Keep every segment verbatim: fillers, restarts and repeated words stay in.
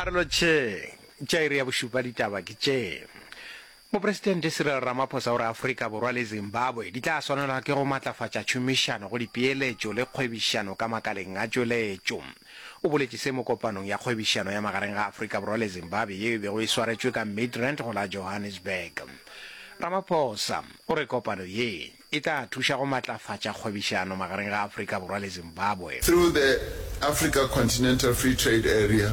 A re lotšheng. Tša iri ya bošupa ditaba ke tše. Mopresidente Cyril Ramaphosa o re Afrika Borwa le Zimbabwe di tla swanelwa ke go matlafatša tšhomišano go dipeeletšo le kgwebišano ka makaleng a tšweletšo. O boletše se mo kopanong ya kgwebišano ya magareng ga Afrika Borwa le Zimbabwe yeo e bego e swaretšwe ka Midrand go la Johannesburg. Ramaphosa o re kopano ye e tla thuša go matlafatša kgwebišano magareng ga Afrika Borwa le Zimbabwe. Through the Africa Continental Free Trade Area,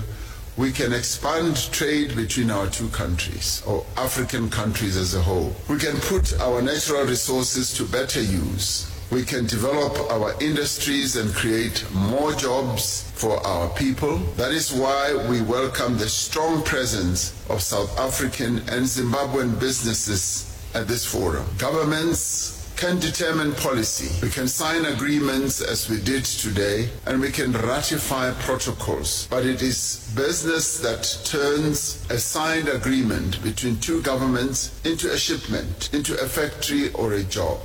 we can expand trade between our two countries, or African countries as a whole. We can put our natural resources to better use. We can develop our industries and create more jobs for our people. That is why we welcome the strong presence of South African and Zimbabwean businesses at this forum. Governments can determine policy. We can sign agreements as we did today, and we can ratify protocols. But it is business that turns a signed agreement between two governments into a shipment, into a factory or a job.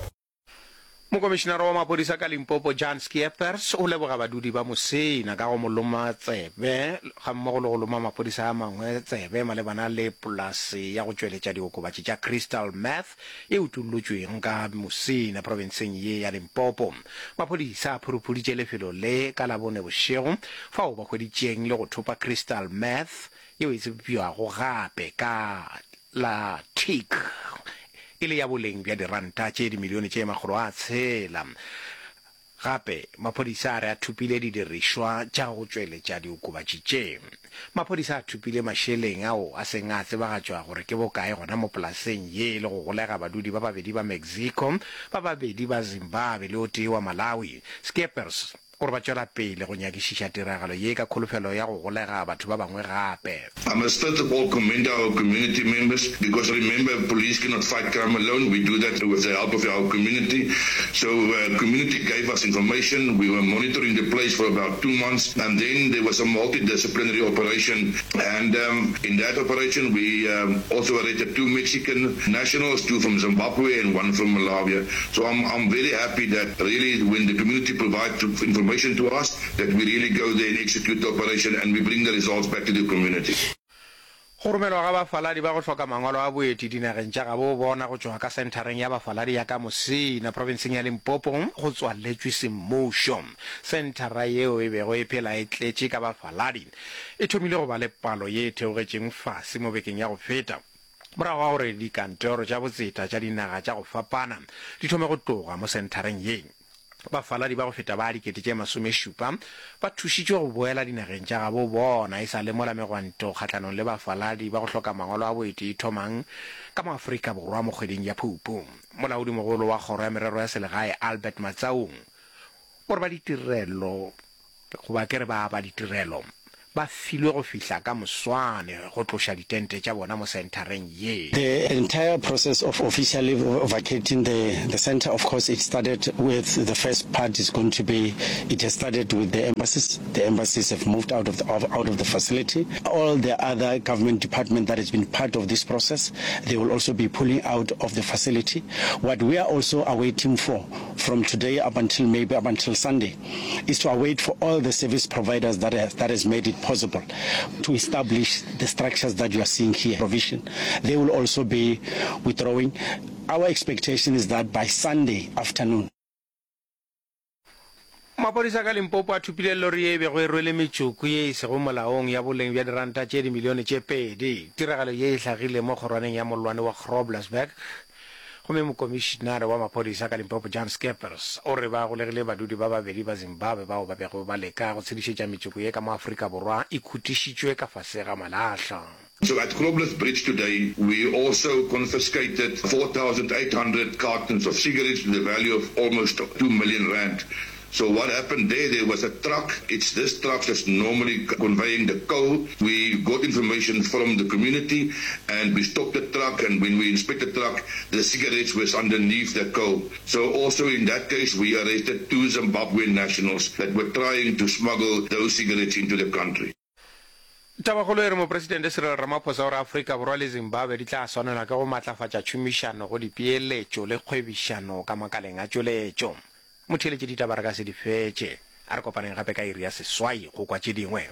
Mokomišinara wa maphodisa ka Limpopo Jan Skeepers o leboga badudi ba Musina ka go mo loma tsebe gammogo le go loma maphodisa a mangwe tsebe malebana le polase ya go tšweletša diokobatši tša crystal meth e utollotšweng ka Musina profenseng ye ya Limpopo. Maphodisa a phuruphuditše lefelo le ka Labone bošego fao ba hweditšeng le go thopa crystal meth yeo e tsebjago gape ka la tik e le ya boleng bja diranta tše dimilione tše makgolo a tshela. Gape maphodisa a re a thopile didirišwa tša go tšweletša diokobatši tše. Maphodisa a thopile mašeleng ao a seng a tsebagatšwa gore ke bokae gona mo polaseng ye le go golega badudi ba babedi ba Mexico, ba babedi ba Zimbabwe le o tee wa Malawi. Skeepers o re ba tšwela pele go nyakišiša tiragalo ye ka kholofelo ya go golega batho ba bangwe gape. I must first of all commend our community members because remember police cannot fight crime alone. We do that with the help of our community. So uh, community gave us information. We were monitoring the place for about two months and then there was a multidisciplinary operation and um, in that operation we um, also arrested two Mexican nationals, two from Zimbabwe and one from Malawi. So I'm, I'm very happy that really when the community provides information to us, that we really go there and execute the operation and we bring the results back to the community. Go romelwa ga bafaladi ba go hloka mangwalo a boeti dinageng tša gabo bona go tšwa ka senthareng ya bafaladi ya ka Musina profenseng ya Limpopo go tswaletšwe semmušo. Senthara yeo e bego e phela e tletše ka bafaladi e thomile go ba le palo ye e theogetšeng fase mo bekeng ya go feta morago ga gore dikantoro tša botseta tša dinaga tša go fapana di thome go tloga mo senthareng ye. Bafaladi ba go feta ba dikete tše masomešupa ba thušitšwe go boela dinageng tša gabo bona e sa le mola megwanto kgahlanong le bafaladi ba go hloka mangwalo a boeti e thomang ka mo Afrika Borwa mo kgweding ya Phupu. Molaodimogolo wa kgoro ya merero ya selegae Albert Matsaung o re ba ditirelo goba ke re ba ba ditirelo ba filwe go fihla ka moswane go tloša ditente tša bona mo senthareng ye. The entire process of officially vacating the, the center, of course, it started with the first part is going to be, it has started with the embassies. The embassies have moved out of the, out of the facility. All the other government department that has been part of this process, they will also be pulling out of the facility. What we are also awaiting for from today up until maybe up until Sunday is to await for all the service providers that has, that has made it possible to establish the structures that you are seeing here. Provision. They will also be withdrawing. Our expectation is that by Sunday afternoon, Maphodisa ka Limpopo a thopile lori ye e bego e rwele metšoko ye e sego molaong ya boleng bja diranta tše dimilione tše pedi. Tiragalo ye e hlagile mo kgorwaneng ya mollwane wa Groblersburg gomme mokomišinare wa maphodisa ka Limpopo Jan Skeepers o re ba golegile badudi ba babedi ba Zimbabwe bao ba bego ba leka go tshedišetša metšoko ye ka mo Afrika Borwa e khutišitšwe ka fase ga malahla. So at Grobler Bridge today, we also confiscated four thousand eight hundred cartons of cigarettes to the value of almost two million rand. So what happened there, there was a truck. It's this truck that's normally conveying the coal. We got information from the community and we stopped the truck, and when we inspected the truck, the cigarettes was underneath the coal. So also in that case, we arrested two Zimbabwean nationals that were trying to smuggle those cigarettes into the country. Tabakgolo e re Mopresidente Cyril Ramaphosa o re Afrika Borwa le Zimbabwe di tla swanelwa ke go matlafatša tšhomišano go dipeeletšo le kgwebišano ka makaleng a tšweletšo. Motheeletši ditaba re ka se di fetše. A re kopaneng gape ka iri ya seswai go kwa tše dingwe.